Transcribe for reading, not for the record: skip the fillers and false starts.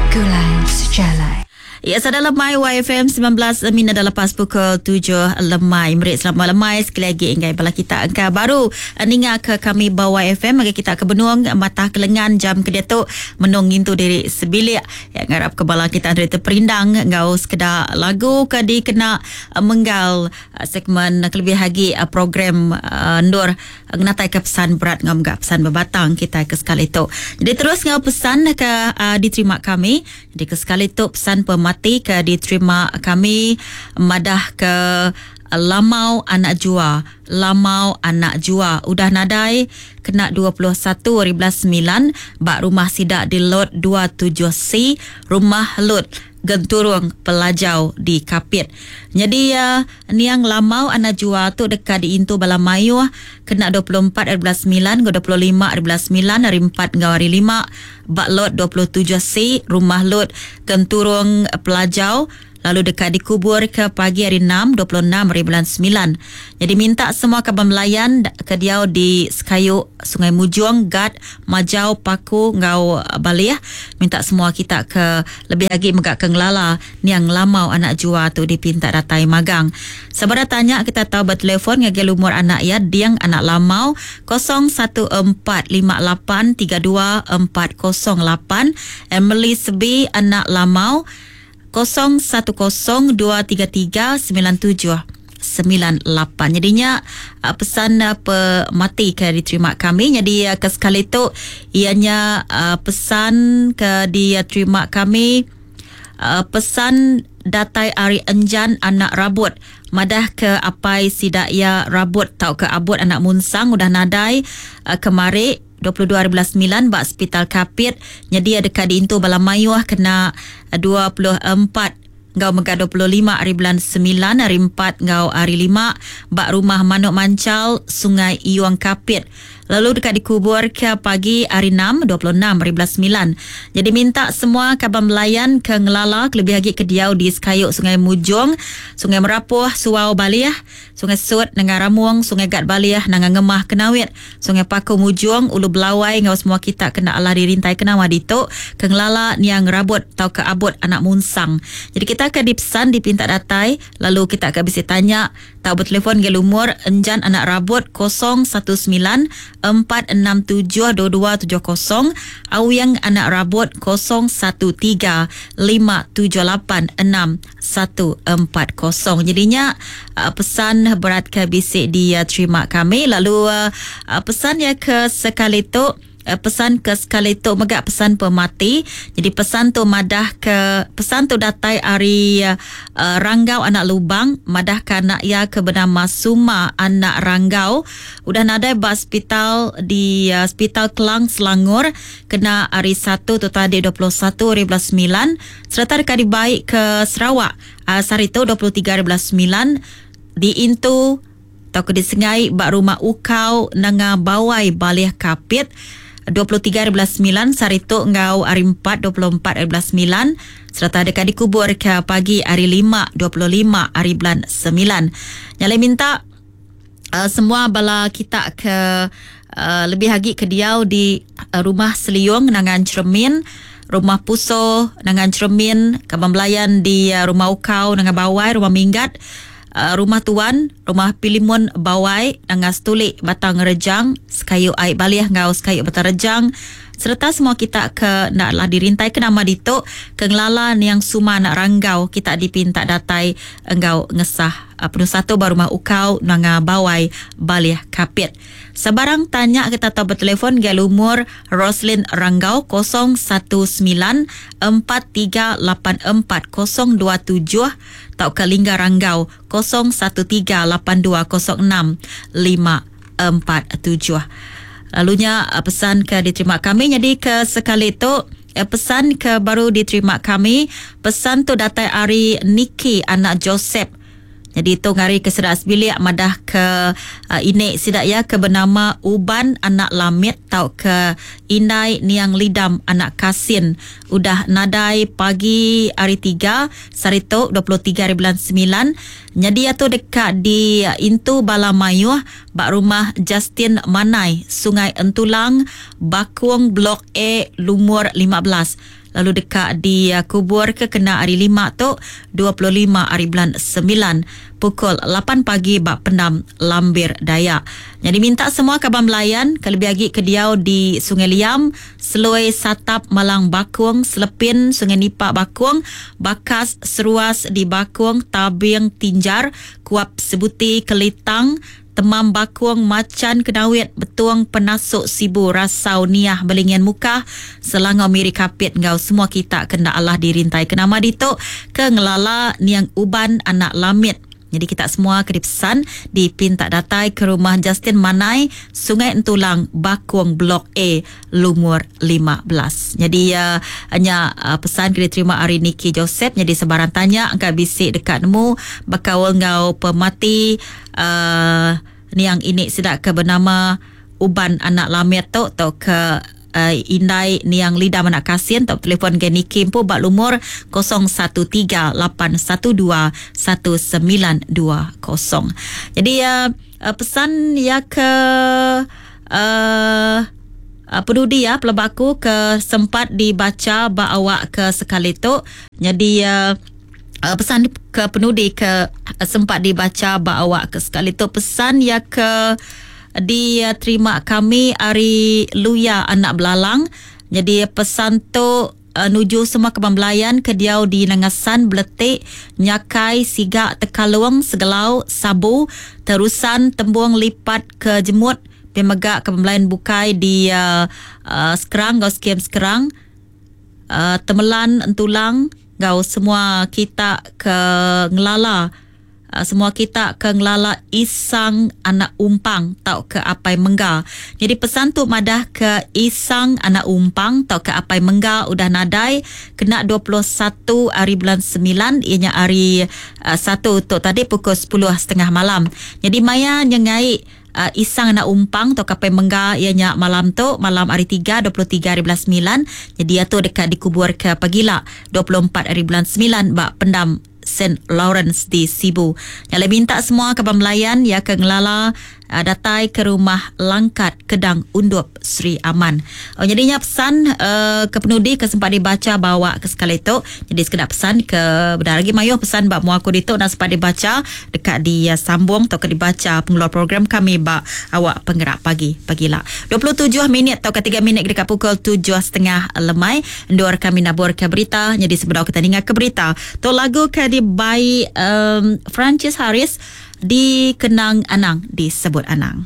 Begulai Sejalai. Ya, sada lemai YFM 19 minit dah lepas pukul 7 lemai. Meri selamat lemai sekali lagi enggai bala kita engka baru ninga ke kami ba YFM bagi kita ke benung matah kelengan jam ke diatu menung ngintu diri sebilik. Ya, ngarap ke bala kita dari terperindang enggau sekeda lagu ke dikena menggal segmen kelebih agi program endur ngenatai ke pesan berat enggau mega pesan bebatang kita ke sekali tu. Jadi terus enggau pesan ke diterima kami. Jadi ke sekali tu pesan pemati ke diterima kami madah ke Lamau anak jua, Lamau anak jua udah nadai kena 21 hari bulan 9 ba rumah sida di lot 27C Rumah Lut Genturung Pelajau di Kapit. Nyadi niang Lamau anak jua tu deka diintu bala mayuh kena 24 hari bulan 9 enggau 25 hari bulan 9 hari 4 enggau hari 5 ba lot 27C Rumah Lut Genturung Pelajau lalu deka dikuburka pagi hari 6, 26 hari bulan 9. Nyadi minta semua kaban belayan ke diau di Sekayu, Sungai Mujong, Gat, Majau, Paku enggau Balih, minta semua kita ke lebih agi mega ke ngelala niang Lamau anak Jua tu dipinta datai magang. Sebedau tanya kita tau betelefon ngagai lumur anak iya Ding anak Lamau 0145832408, Emily Sebi anak Lamau 0102339798. Jadinya pesan pemati ke diterima kami. Jadi ke sekali tu ianya pesan ke diterima kami, pesan datai ari Enjan anak Rabut madah ke apai sida ia Rabut tau ke Abut anak Munsang udah nadai kemari 22 hari bulan 9 ba Hospital Kapit. Jadi ia deka diintu bala mayuh kena 24 enggau mega 25 hari bulan 9 hari 4 enggau hari 5 ba Rumah Manuk Manchal Sungai Iung Kapit. Lalu deka dikubur ke pagi hari 6, 26 hari bulan 9. Jadi minta semua kaban belayan ke ngelala kelebih agi ke diau di Sekayu Sungai Mujong, Sungai Merapoh, Suau Balih, Sungai Sut, Nengah Ramung, Sungai Gat Balih, Nanga Ngemah Kenawit, Sungai Paku Mujong, Ulu Belawai enggau semua kita kena alah dirintai kenawa ditu ke ngelala niang Rabut tauka Abut anak Munsang. Jadi kita ke dipesan dipinta datai lalu kita ke bisi tanya tau betelefon ngagai lumur Enjan anak Rabut 019 467 2270, Awing anak Rabut 013 578 6140. Jadinya pesan berat ke bisi diterima kami. Lalu pesan ya ke sekali tu, pesan ke sekali tu mega pesan pemati. Jadi pesan tu madah ke pesan tu datai ari Ranggau anak Lubang madah ke anak ia ke bernama Suma anak Ranggau udah nadai ba hospital di Hospital Klang Selangor kena hari 1 tu tadi 21 hari bulan 9 sereta deka dibai ke Sarawak sehari tu 23 hari bulan 9 diintu tau ke disengai ba Rumah Ukau Nanga Bawai Balih Kapit 23 hari bulan 9 sehari tu enggau hari 4 24 hari bulan 9 sereta deka dikubur ke pagi hari 5 25 hari bulan 9. Nyalai minta semua bala kita ke lebih agi ke diau di Rumah Seliung Nangan Cermin, Rumah Puso Nangan Cermin, Kaban Belayan di Rumah Ukau Nanga Bawai, Rumah Minggat, Rumah Tuan, Rumah Pilimun Bawai, Nanga Setulik Batang Rejang, Sekayu Ai Balih enggau Sekayu Batang Rejang, sereta semua kita ke enda lah dirintai ke nama ditu ke ngelala niang Suma anak Ranggau kita dipinta datai enggau ngesah penusah tu ba Rumah Ukau Nanga Bawai Balih Kapit. Sebarang tanya kita tau betelefon ngagai lumur Roslin Ranggau 019 4384 027 tauka Lingga Ranggau 013 8206 547. Lalunya pesan ke diterima kami. Jadi ke sekali tu pesan ke baru diterima kami, pesan tu datai ari Niki anak Joseph. Jadi tu ngari ke sedak sebilik madah ke ini sidak ya ke bernama Uban anak Lamit tau ke Indai Niang Lidam anak Kasin udah nadai pagi hari 3 sehari tu 23 hari bulan 9. Jadi ia tu dekat di intu bala mayuh ba rumah Justin Manai Sungai Entulang Bakung Blok A lumur 15. lalu deka dikubur ke kena hari 5 tu 25 hari bulan 9 pukul 8 pagi ba Pendam Lambir Dayak. Jadi minta semua kaban belayan ke lebih agi ke diau di Sungai Liam, Seloi Satap Malang Bakung, Selepin Sungai Nipa Bakung, Bakas Seruas di Bakung, Tabing Tinjar, Kuap Sebuti Kelitang, Temam Bakung Macan Kenawit Betung Penasuk Sibu Rasau Niah Belingian Mukah Selangau Miri Kapit enggau semua kita kena Allah dirintai ke nama ditu ke ngelala Niang Uban anak Lamit. Jadi kita semua ke dipesan dipinta datai ke rumah Justin Manai Sungai Entulang Bakung Blok A lumur 15. Jadi hanya pesan ke diterima hari Niki Joseph. Jadi sebarang tanya angka bisik dekat nemu bekaul ngau pemati niang ini sedak ke bernama Uban anak Lamit tu atau ke indai niang Lida Manak Kasin atau telefon ke Niki empu bak lumur 013 812 1920. Jadi pesan ya ke pedudi ya pelebaku ke sempat dibaca bak awak ke sekali tu. Jadi pesan ke penudi ke sempat dibaca bak awak ke sekali tu pesan ya ke diterima kami ari Luya anak Belalang. Jadi pesan tu nuju semua kebang belayan ke diau di Nangasan, Beletik, Nyakai, Sigak, Tekalung, Segelau, Sabu, Terusan, Tembung, Lipat ke Jemut, Pemegak ke belayan bukai di Sekerang, gau skim Sekerang, Temelan, Entulang, gau semua kita ke ngelala. Semua kita ke ngelala Isang anak Umpang tau ke Apai Mengga. Jadi pesan tu madah ke Isang anak Umpang tau ke Apai Mengga udah nadai kena 21 hari bulan 9 ianya hari 1 tu tadi pukul 10.30 malam. Jadi maya nyengai Isang anak Umpang atau Apai Mengga ianya malam tu malam hari 3 23 hari bulan 9. Jadi ia tu dekat dikubur ke pagila 24 hari bulan 9 bak pendam Saint Lawrence di Sibu. Yang minta semua kebang melayan ya ke ngelala datai ke rumah Langkat Kedang Undup Sri Aman. Oh, jadinya pesan ke penudi ke sempat dibaca bawa ke sekali tu. Jadi sekedar pesan ke benar lagi mayu pesan bak muaku ditu nak sempat dibaca dekat di sambung atau ke dibaca pengeluar program kami bak awak penggerak pagi pagila. 27 minit atau ke 3 minit dekat pukul 7.30 lemai ndur kami nabur ke berita. Jadi sebelum kita dengar ke berita tu lagu ke di by Francis Harris dikenang Anang disebut Anang.